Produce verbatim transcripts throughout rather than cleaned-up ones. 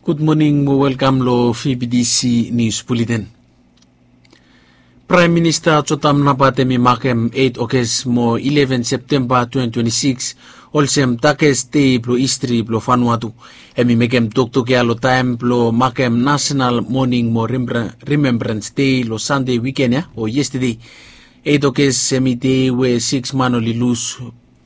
Gud moning mo welkam lo V B T C News Bulletin. Praem Minista Jotam Napat hem i makem eit Oges mo ileven Septemba twenti twenti sikis olsem dakes dei blo histri blo Vanuatu. Hem i mekem toktok ya lo taem blo makem Nasenal Moning mo Rimembrans Dei lo Sande wiken ya o yestede. Eit Oges hem i dei we sikis man oli lus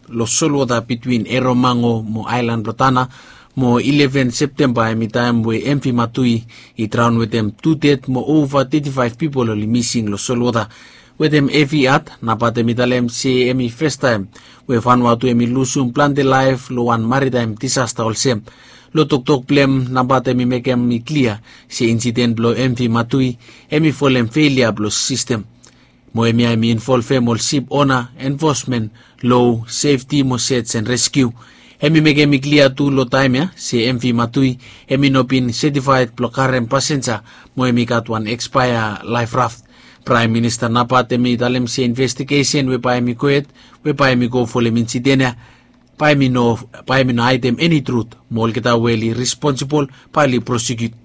lo solwota bitwin Eromango mo aelan blo Tana, mo ileven Septemba hem i taem we M V Matui i draon wetem tu ded mo ova teti faef pipol oli mising lo solwota. Wetem hevi hat Napat hem i talem se hem i fastaem we Vanuatu hem i lusum plante laef lo wan maritaem disasta olsem. Lo toktok blo hem Napat hem i mekem i klia se insiden blo M V Matui hem i folem felia blo sistem. Mo hemia hem i involvem ol sip ona, enfosmen, lo, sefti mo sej en reskiu. Hem i mekem i klia tu lo taem ya se M V Matui hem i no bin setifaed blo karem pasenja mo hem i gat wan ekspaea laef raft. Praem Minista Napat hem i talem se investigesen we bae hem i gohed we bae hem i go folem insiden ya bae hem i no, bae hem i no haedem eni trut mo olgeta we oli responsibol bae oli prosekiut.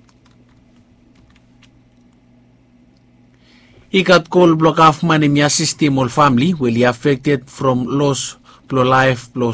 I gat kol blo gavman hem i asistem ol famle we oli afekted from los blo laef blo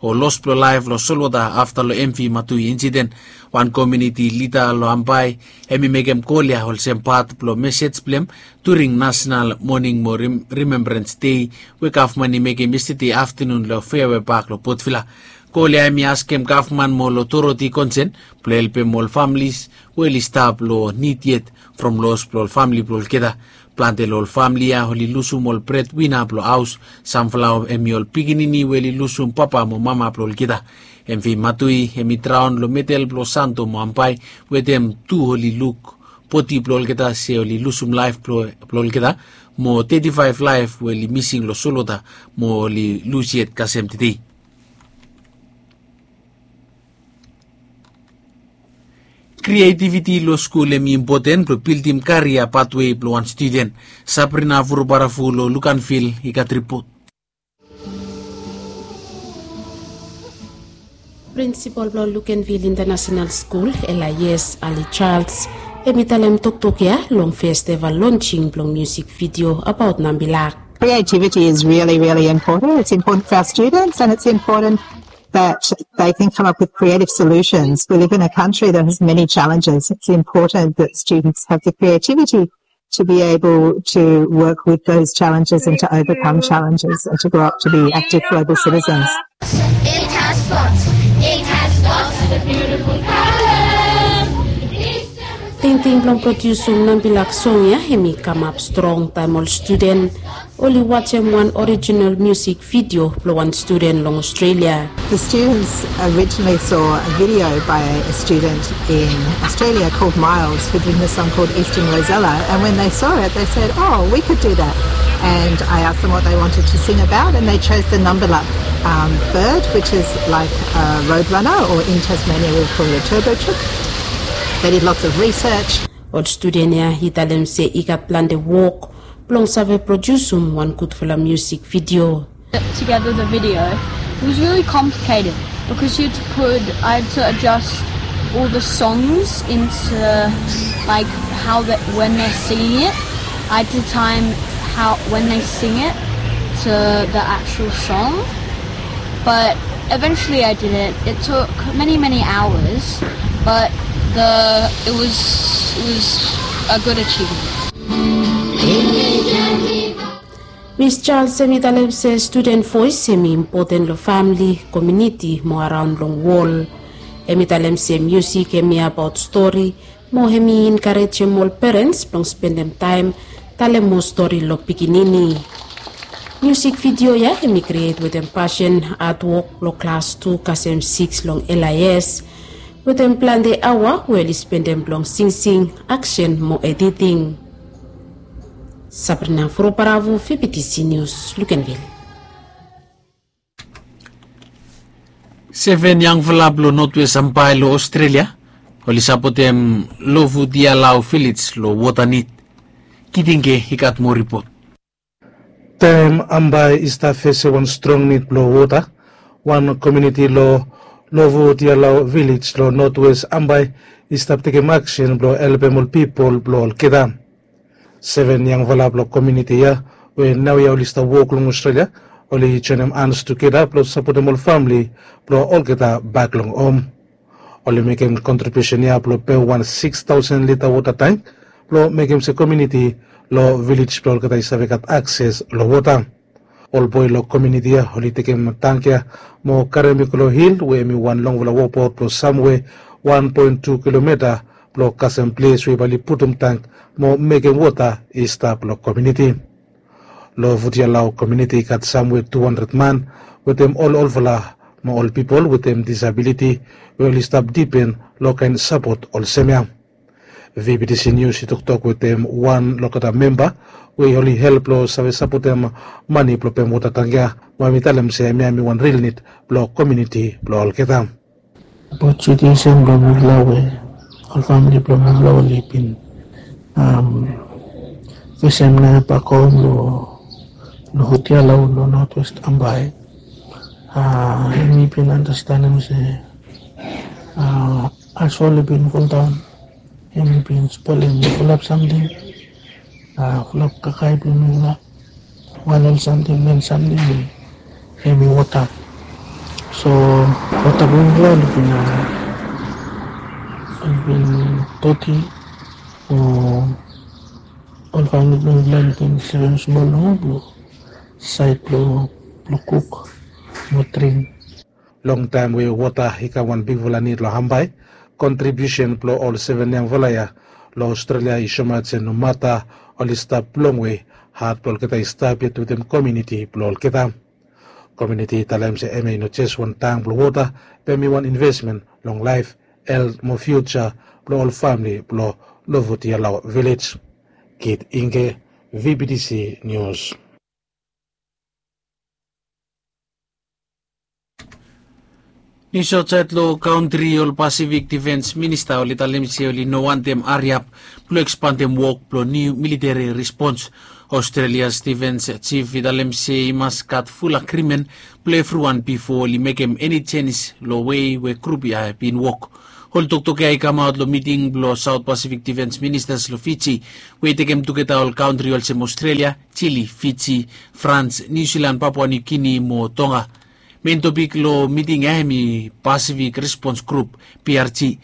o los blo laef lo solwota afta lo M V Matui insiden. Wan komuniti lida lo Ambae hem i mekem kol ya olsem pat blo mesej blo hem during Nasenal Moning mo Rimembrans Dei we gavman i mekem yestede aftanun lo Feawe Pak lo Potvila. Kol ya hem i askem gavman mo ol otoriti konsen blo helpem ol famles we oli stap lo nid yet from los blo ol famle blo olgeta. Plante lo ol famle ya oli lusum ol bredwina blo haos, samfala hem i ol pikinini we oli lusum papa mo mama blo olgeta. M V Matui hem i draon lo medel blo Santo mo Ambae wetem tu oli luk bodi blo olgeta se oli lusum laef blo olgeta mo teti faef laef we oli mising lo solwota mo oli lus yet kasem tede. Krietiviti lo skul hem i impoten blo bildim karia patwe blo wan studen. Sabrina Vurubaravu lo Luganvil i gat ripot. Prinsipol blo Luganvil International Skul, L I S, Ali Charles, hem i talem toktok ya long festeva lonsing blong musik vidio abaot Nambilak. Creativity is really, really important. It's important for our students, and it's important that they can come up with creative solutions. We live in a country that has many challenges. It's important that students have the creativity to be able to work with those challenges and to overcome challenges and to grow up to be active global citizens. It has spots. It has spots. The beautiful colors. Tingting blong prodiusum Nambilak song ya hem i kamap strong taem ol studen oli wajem wan orijinal musik vidio blong wan studen long Australia. The students originally saw a video by a student in Australia called Miles, who'd written a song called Eastern Rosella, and when they saw it, they said, "Oh, we could do that." And I asked them what they wanted to sing about, and they chose the Nambilak um, bird, which is like a roadrunner, or in Tasmania we would call it a turbo chook. They did lots of research. Ol studen ya i talem se i gat plante wok blong save prodiusum wan gudfala musik vidio. Put together the video. It was really complicated because you had to put, I had to adjust all the songs into, like, how that, when they're singing it. I had to time how, when they sing it to the actual song. But eventually I did it. It took many, many hours, but the, it was, it was a good achievement. Miss Charles hem i talem se studen voes hem i impoten long famle, komuniti mo araon long wol. Hem i talem se musik hem i abaot stori mo hem i enkarejem ol perens blong spendem taem talem moa stori long pikinini. Musik vidio ya hem i kriet wetem pasen, hatwok blong klas tu kasem sikis long L I S, wetem plante aoa we oli spendem blong singsing, aksen mo editing. Sabrina Vurubaravu, V B T C News, Luganvil. Seven yangfala blong Notwes Ambae long Australia oli sapotem Lovutialau Village long wota nid. Kitingke i gat moa ripot. Taem Ambae i stap fesem wan strong nid blong wota, wan komuniti long Lovutialau vilej long notwes Ambae i stap tekem aksen blong helpem ol pipol blong olgeta. Seven yangfala blong komiuniti ya we naoia oli stap wok long Australia, oli joenem hans tugeta blong sapotem ol famili blong olgeta bak long hom. Oli mekem kontribiusen ya blong pem wan sikstaosen lita wota tank blong mekem se komiuniti long vilej blong olgeta i save gat akses long wota. Ol boe long komiuniti ya oli tekem tank ya mo karem i go long hil we hem i wan longfala wokbaot blong samwe wan poen tu kilomita blong kasem ples we bae oli putum tank mo mekem wota i stap long komiuniti. Long Vutialau komiuniti i gat samwe tu handred man wetem ol olfala mo ol pipol wetem disabiliti we oli stap dipen long kaen sapot olsem ya. VBTC Nius i toktok wetem wan long olgeta memba we oli help long save sapotem mane blong pem wota tank ya, mo hem i talem se hemia hem i wan ril nid blong komiuniti blong olgeta. Abaot situesen blong mifala we ol famili blong mifala oli bin fesem naoia bak hom long Vutialau long notwes Ambae. Yumi bin anastenem se haos oli bin foldaon. Yumi bin spolem fulap samting, fulap kakae blong mifala. Wan ol samting, men samting hem i wota. So wota blong mifala oli bin, oli bin doti. O ol famili blong mifala oli bin sevem smol nomo blong saed blong kuk mo dring. Longtaem we wota i kam wan bigfala nid long Ambae, kontribiusen blong ol seven yangfala ya long Australia i soemaot se nomata oli stap longwe, hat blong olgeta i stap yet wetem komiuniti blong olgeta. Komiuniti i talem se hemia i no jes wan tank blong wota, be hem i wan invesmen long laef, helt mo fiuja blong ol famili blong Lovutialau vilej. Kit Ingke, VBTC Nius. Nius aotsaed long kantri, ol Pasifik Difens Minista oli talem se oli no wantem hariap blong ekspandem wok blong niu militeri respons. Australia's Defence Chief i talem se i mas gat ful agrimen blong evriwan bifo oli mekem eni jenis long wei we grup ya i bin wok. Ol toktok ya i kamaot long miting blong South Pacific Defence Ministers long Fiji, we i tekem tugeta ol kantri olsem Australia, Chile, Fiji, France, New Zealand, Papua New Guinea mo Tonga. Mein topik long miting ya hem i Pacific Response Group, PRG.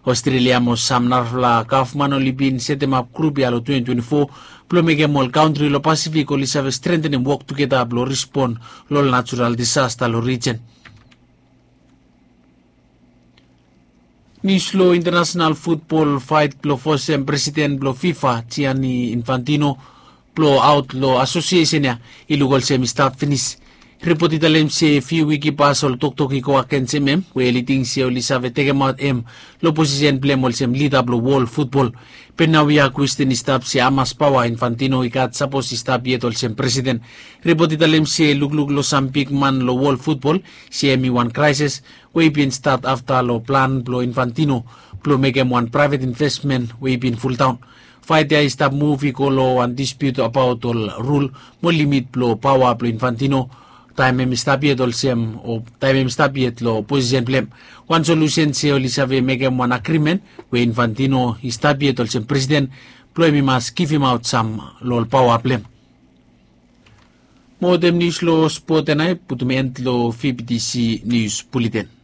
Australia mo sam narafala gavman oli bin setemap grup ya long twenty twenty-four blong mekem ol kantri long Pasifik oli save strentenem wok tugeta blong respon long ol natural disasta long rijen. Nius long intanasenal futbol, faet blong fosem presiden blong FIFA, Gianni Infantino, blong aot long asosiesen ya i luk olsem i stap finis. Ripot i talem se fiu wik i pas ol toktok i go agensem hem, we oli ting se oli save tekemaot hem long posisen blong hem olsem lida blong wol futbol. Be naoia kwesten i stap se hamas paoa Infantino i gat sapos i stap yet olsem presiden. Ripot i talem se lukluk long sam bigman long wol futbol, se hem i wan kraeses we i bin stat afta long plan blong Infantino blong mekem wan praevet invesmen we i bin fuldaon. Faet ya i stap muv i go long wan dispiut abaot ol rul mo limit blong paoa blong Infantino taem hem i stap yet olsem, o taem hem i stap yet long posisen blong hem. Wan solusen se oli save mekem wan agrimen we Infantino i stap yet olsem presiden blong hem i mas givimaot sam long ol paoa blong hem. Mo wetem nius long spot ya nao i putum en long VBTC Nius Buleten.